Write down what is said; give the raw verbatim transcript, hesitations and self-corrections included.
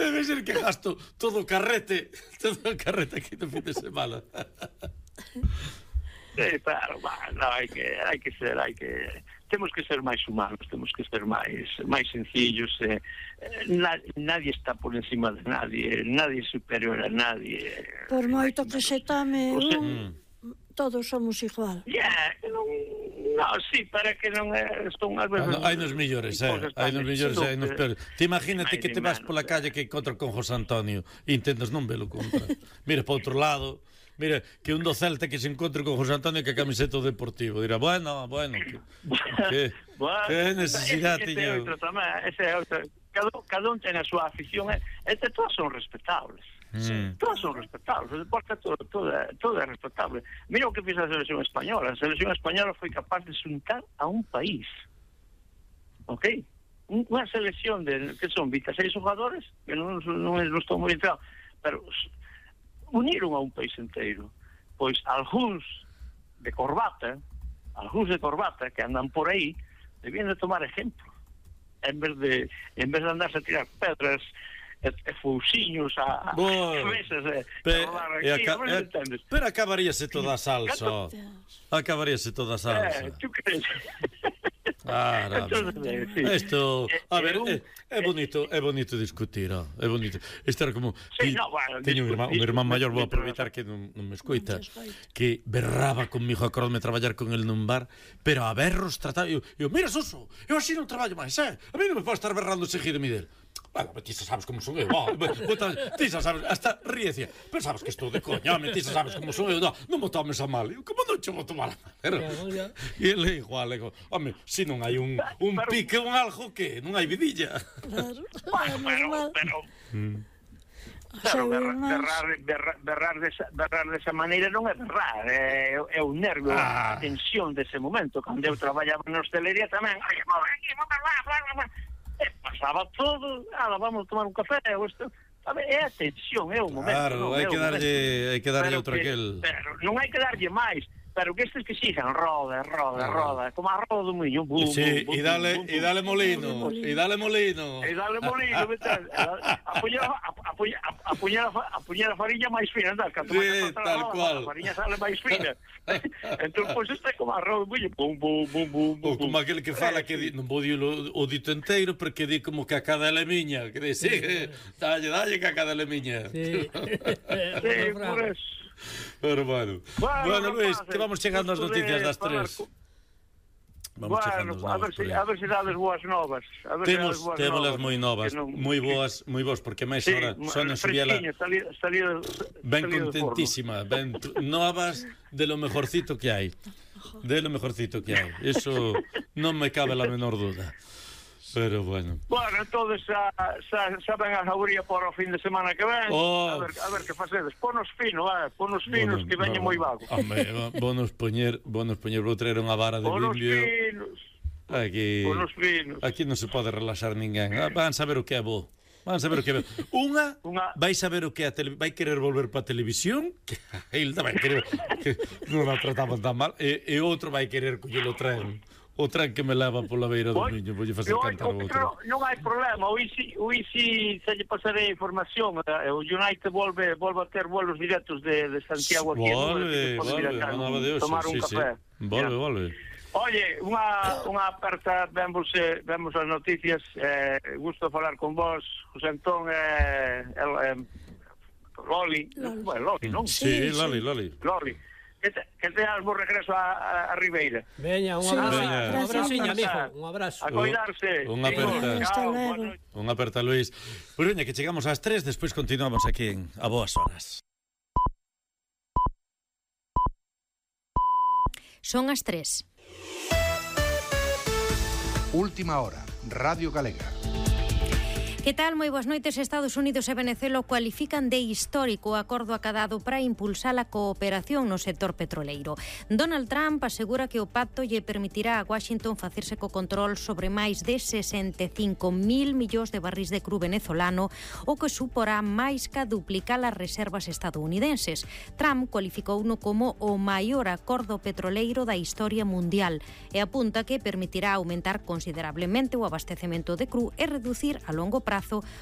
Debe ser que gasto todo o carrete, todo o carrete aquí no fin de semana. Sí, claro, no, hai que, hai que ser, hai que... Temos que ser máis humanos, temos que ser máis máis sencillos. Eh, na, nadie está por encima de nadie, nadie é superior a nadie. Por moito que se tame o sea, un, todos somos igual. Yeah, non, no, sí, para que non é, son as veces... Ah, no, hai nos millores, eh, hai nos millores, hai nos peores. Te imagínate que te vas pola calle que encontras con José Antonio e intentas non velo contra. Mira para outro lado. Mira, que un do Celta que se encontre con José Antonio que a camiseta deportivo. Dirá, bueno, bueno, que, que, bueno, que necesidade tiña. Cada, cada un ten a súa afición, e, e todas son respetables. Mm. Todas son respetables, o deporte todo, todo, todo é respetable. Mira o que fez a selección española. A selección española foi capaz de xuntar a un país. Ok? Unha selección de, que son veintiséis jugadores, que non, non, non estou moi entrado, pero uniron a un país inteiro. Pois algúns de corbata, algúns de corbata que andan por aí, debían de tomar ejemplo. En vez de en vez de andarse a tirar pedras e, e fousiños a cabezas e, Pe, e aca, e, pero acabaríase toda a salsa. Acabaríase toda a salsa. Eh, tú crees? Ah, isto, a ver, é, é bonito, é bonito discutir, oh, é bonito. Isto era como sí, no, bueno, teño un irmán, un irmán maior, vou aproveitar que non, non me escoita, que berraba conmigo a corrome traballar con el nun bar, pero a berros trataba, eu, eu mira, Suso, eu así non traballo máis, eh? A mí non me pode estar berrando seguido, Miguel. Bueno, ti xa sabes como son eu, oh, ti xa sabes, hasta ríecía, pero sabes que estou de coña, ti xa sabes como son eu, no, non me tomes a mal, eu, como non che vou tomar a mal, pero, e ele igual, ego, home, se non hai un, un pique, un algo, que non hai vidilla. Claro, bueno, pero, pero, mm. Pero berrar, berrar, berrar, berrar, desa, berrar desa maneira non é berrar, é, é o nervio, ah. a tensión dese momento. Cando eu traballaba na hostelería tamén, ai, vamos aquí, vamos lá, vamos lá, e pasaba todo, ah, vamos tomar un café, ou isto, é a tensión, é o momento. Claro, hai que darlle, hai que darlle outro aquel. Pero non hai que darlle máis. Pero que estes que sigan, roda, roda, roda, como a roda do muño, bum, sí, bum, e dale, bum, e dale molino, e dale molino. E dale molino, apuñar a fariña máis fina, andar, sí, tal cual. A fariña sale máis fina. Entón, pois, este é como a roda do muño, bum, bum, bum, bum. Ou como aquele que fala que non vou dir o dito inteiro, porque di como que a cada é miña, que di, sí, dalle, dalle que a cada é miña. Sí, por eso. Pero bueno, bueno, bueno Luis, que vamos chegando ás noticias das tres. Vamos bueno, a ver, se, a ver se dades boas novas. A ver temos, se temos as moi novas, non... moi boas, moi boas, porque máis sí, ahora Sonia Subiela ben contentísima, ben novas de lo mejorcito que hai. De lo mejorcito que hai. Eso non me cabe la menor duda. Pero bueno. Bueno, entonces xa, xa, xa ven a jauría por o fin de semana que ven. Oh. A ver, a ver que facedes. Ponos fino, eh, ponos finos, bueno, que veñen no, moi vagos. Home, bonos poñer, bonos poñer, vou traer unha vara de bonos bimbio. Finos. Aquí, bonos finos. Aquí non se pode relaxar ninguén. Van saber o que é bo. Van saber o que é bo. Unha, Unha... vai saber o que é a tele... vai querer volver para a televisión, que Hilda vai querer que non a trataban tan mal, e, e outro vai querer que lle lo traen. O tren que me leva pola beira do Miño, vou lle facer cantar o outro. Non hai problema, o Isi, o Isi se lle pasarei a información, o United volve, volve a ter vuelos directos de, de Santiago aquí. Volve, volve, tomar un café. Volve, volve. Oye, unha, unha aperta, vemos, eh, vemos as noticias, eh, gusto falar con vos, José Antón, eh, el, eh, Loli, bueno, Loli, non? Sí, Loli, Loli. Loli. Que, te, que teas bo regreso a, a, a Ribeira. Veña, un abrazo, sí, un abraciño, amigo, un abrazo. A cuidarse. Unha aperta. Unha aperta, Luis. Pois veña, que chegamos ás tres, despois continuamos aquí en A Boas Horas. Son as tres. Última hora, Radio Galega. Que tal? Moi boas noites. Estados Unidos e Venezuela cualifican de histórico o acordo acadado para impulsar a cooperación no sector petroleiro. Donald Trump asegura que o pacto lle permitirá a Washington facerse co control sobre máis de sesenta e cinco mil millóns de barrís de cru venezolano, o que suporá máis que duplicar as reservas estadounidenses. Trump cualificouno como o maior acordo petroleiro da historia mundial e apunta que permitirá aumentar considerablemente o abastecemento de cru e reducir a longo prazo